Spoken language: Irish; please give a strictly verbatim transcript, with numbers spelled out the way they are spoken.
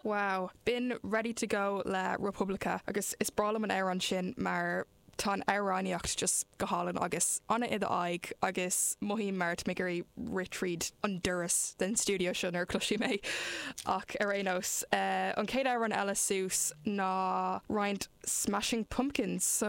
Wow, B'in Ready to Go le Republica agus is breá liom an amhrán sin mar tá an amhránaíocht just go hálainn agus ana i aghaidh agus mothaím mar mé ag rith tríd an doras den studio seo nuair cloisim é ach ar aon nós uh, an chéad amhrán eile suas ná roinnt Smashing Pumpkins.